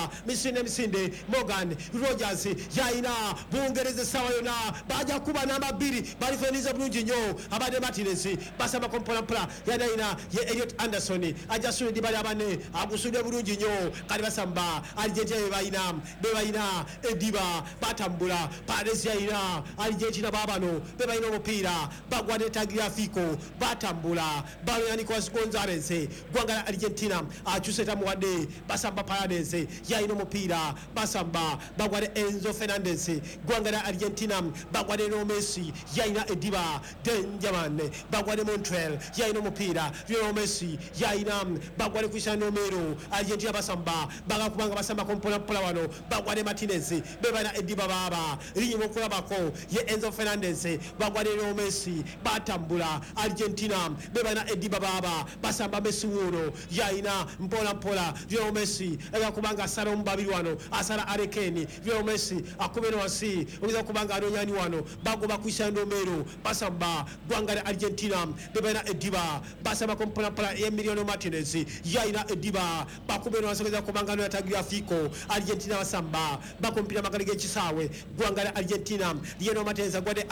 Basamba misinde misinde. Morgan Rogers yayina Bungereza essaawa yonna bajja kuba namba 2, balifeniza bulungi nnyo. Abadde Martinez, basambako mpolampola, yanayina ye Eliot Anderson, ajja sula eddiba lya banne, agusudde bulungi nnyo. Kati basamba Argentina, bebalina bebalina eddiba, batambula. Paredes yayina Argentina, babano bebalina omupiira, bagwa ne Tagliafico, batambula balo ya Nicolas Gonzalez, gwanga la Argentina, akyuse tamuwadde. Basamba Paredes yayina omupiira, basamba bagwa ne Enzo Fernandez, gwanga la Argentina, bagwa ne Leo Messi, yayina eddiba, Benjamin, bagwa ne Montiel, yayina omupiira, Lionel Messi yayina, bagwa ne Cristiano Romero. Argentina basamba bagakubanga, basambako mpolampola wano, bagwa ne Martinez, bebalina eddiba, baaba linyuma okulabako ye Enzo Fernandez, bagwa ne Leo Messi, batambula Argentina, bebalina eddiba, baaba basamba. Messi wuuno yayina mpolampola, Lionel Messi agakubanga asala omu babiri wano, asala Arekeni. Lionel Messi akubera wansi, oyinza kubanga anonyani wano, bagoba Cristiano Romero. Basamba gwanga lya Argentina, bebalina eddiba, basambako mpolampola. Emiliano Martinez yayina eddiba, bakubera wansi, oyinza kubanga anonya Tagliafico. Argentina basamba bakompira magali g'ekisaawe, gwanga lya Argentina. Lionel Martinez agwadde.